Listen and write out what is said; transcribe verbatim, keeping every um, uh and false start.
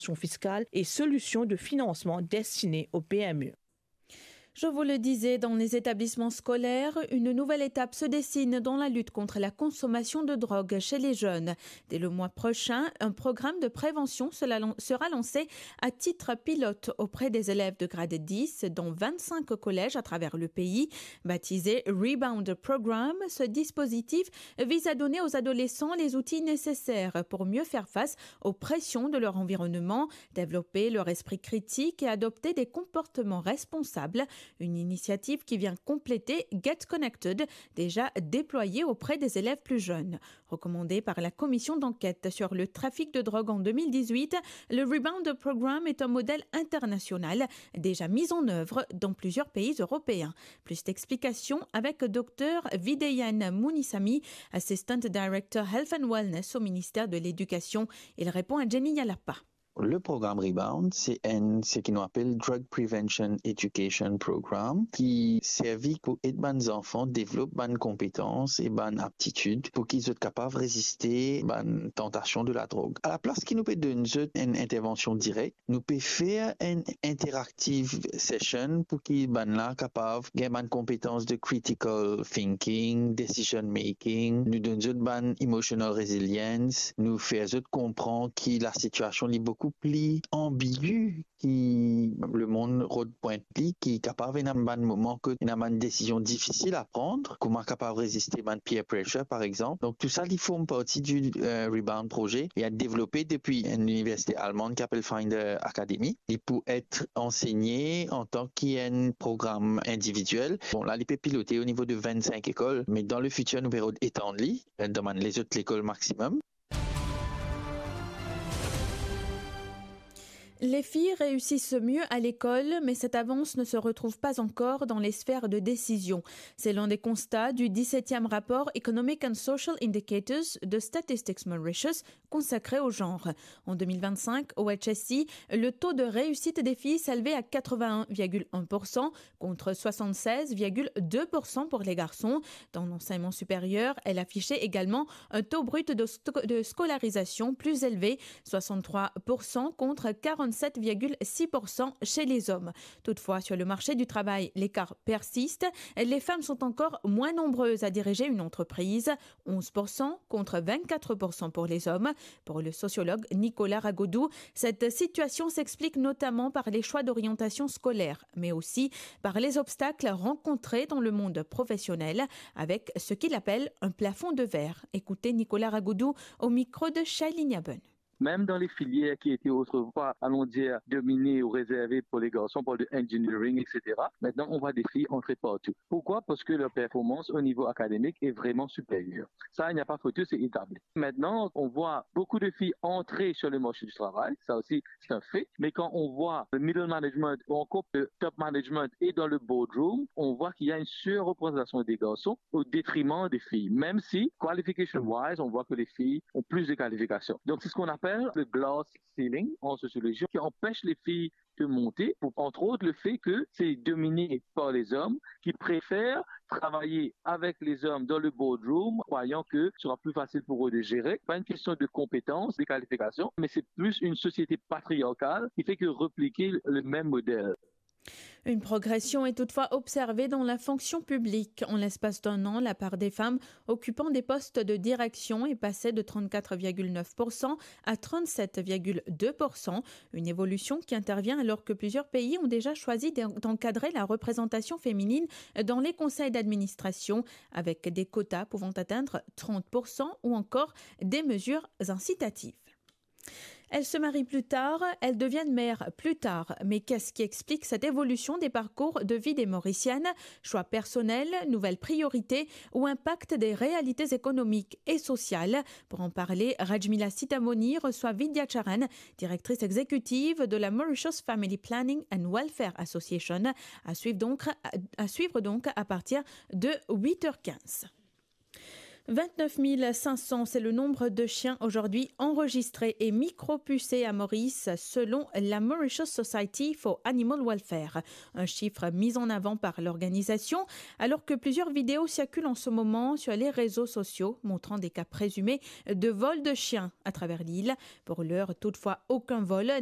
fiskale et solutions de financement destinées aux P M E. Je vous le disais, dans les établissements scolaires, une nouvelle étape se dessine dans la lutte contre la consommation de drogue chez les jeunes. Dès le mois prochain, un programme de prévention sera lan-, sera lancé à titre pilote auprès des élèves de grade dix dans vingt-cinq collèges à travers le pays. Baptisé Rebound Program, ce dispositif vise à donner aux adolescents les outils nécessaires pour mieux faire face aux pressions de leur environnement, développer leur esprit critique et adopter des comportements responsables. Une initiative qui vient compléter Get Connected, déjà déployée auprès des élèves plus jeunes. Recommandé par la commission d'enquête sur le trafic de drogue en deux mille dix-huit, le Rebound Program est un modèle international déjà mis en œuvre dans plusieurs pays européens. Plus d'explications avec Dr Videhan Munisamy, Assistant Director Health and Wellness au ministère de l'Éducation. Il répond à Jenny Yalapa. Le program Rebound, se enn, seki nou apel Drug Prevention Education Program, ki servi pou ed bann zanfan devlop bann konpetans e bann aptitid pou ki zot kapav reziste bann tantasion de ladrog. Alaplas ki nou pe donn zot enn intervansion direk, nou pe fer enn interactive session pou ki bann la kapav gagn bann konpetans de critical thinking, decision making. Nou donn zot bann emotional resilience, nou fer zot konpran ki lasitiasion li boukou pli anbigu ki lemonn rod pwint li, ki kapav ena bann moman kot ena bann desizion difisil a pran, kouma kapav reziste bann peer pressure, par exanp. Donk, tou sa, li form parti di, eh, Rebound Projet. Li a devlope depi enn liniversite almann ki apel Finder Academy. Li pou et ansegne antan ki enn program individiel. Bon, la, li pe pilote o nivo de vennsenk lekol, me dan lefitir, nou pe rod etann li, eh, dan bann lezot lekol maximum. Les filles réussissent mieux à l'école, mais cette avance ne se retrouve pas encore dans les sphères de décision. C'est l'un des constats du dix-septième rapport Economic and Social Indicators de Statistics Mauritius consacré au genre. En deux mille vingt-cinq, au H S I, le taux de réussite des filles s'élevait à quatre-vingt-un virgule un pour cent contre soixante-seize virgule deux pour cent pour les garçons. Dans l'enseignement supérieur, elle affichait également un taux brut de sto-, de scolarisation plus élevé, soixante-trois pour cent contre quarante-sept virgule six pour cent chez les hommes. Toutefois, sur le marché du travail, l'écart persiste. Les femmes sont encore moins nombreuses à diriger une entreprise, onze pour cent contre vingt-quatre pour cent pour les hommes. Pour le sociologue Nicolas Ragodou, cette situation s'explique notamment par les choix d'orientation scolaire, mais aussi par les obstacles rencontrés dans le monde professionnel, avec ce qu'il appelle un plafond de verre. Écoutez Nicolas Ragodou au micro de Shailini Aben. Même dans les filières qui étaient autrefois, allons dire, dominées ou réservées pour les garçons, pour le engineering, et cetera, maintenant on voit des filles entrer partout. Pourquoi ? Parce que leur performance au niveau académique est vraiment supérieure. Ça, il n'y a pas photo, c'est établi. Maintenant, on voit beaucoup de filles entrer sur le marché du travail, ça aussi, c'est un fait. Mais quand on voit le middle management ou encore le top management et dans le boardroom, on voit qu'il y a une surreprésentation des garçons au détriment des filles. Même si, qualification-wise, on voit que les filles ont plus de qualifications. Donc, c'est ce qu'on appelle le glass ceiling en sociologie, qui empêche les filles de monter, pour, entre autres, le fait que c'est dominé par les hommes qui préfèrent travailler avec les hommes dans le boardroom, croyant que ce sera plus facile pour eux de gérer. Pas une question de compétence, de qualification, mais c'est plus une société patriarcale qui fait que répliquer le même modèle. Une progression est toutefois observée dans la fonction publique. En l'espace d'un an, la part des femmes occupant des postes de direction est passée de trente-quatre virgule neuf pour cent à trente-sept virgule deux pour cent, une évolution qui intervient alors que plusieurs pays ont déjà choisi d'en-, d'encadrer la représentation féminine dans les conseils d'administration, avec des quotas pouvant atteindre trente pour cent ou encore des mesures incitatives. Elles se marient plus tard, elles deviennent mères plus tard. Mais qu'est-ce qui explique cette évolution des parcours de vie des Mauriciennes ? Choix personnels, nouvelles priorités ou impact des réalités économiques et sociales ? Pour en parler, Rajmila Sitamoni reçoit Vidya Charan, directrice exécutive de la Mauritius Family Planning and Welfare Association. À suivre donc, à, à suivre donc à partir de huit heures quinze. Vingt-neuf mille cinq cents, c'est le nombre de chiens aujourd'hui enregistrés et micro-pucés à Maurice, selon la Mauritius Society for Animal Welfare. Un chiffre mis en avant par l'organisation, alors que plusieurs vidéos circulent en ce moment sur les réseaux sociaux, montrant des cas présumés de vol de chiens à travers l'île. Pour l'heure, toutefois, aucun vol n'a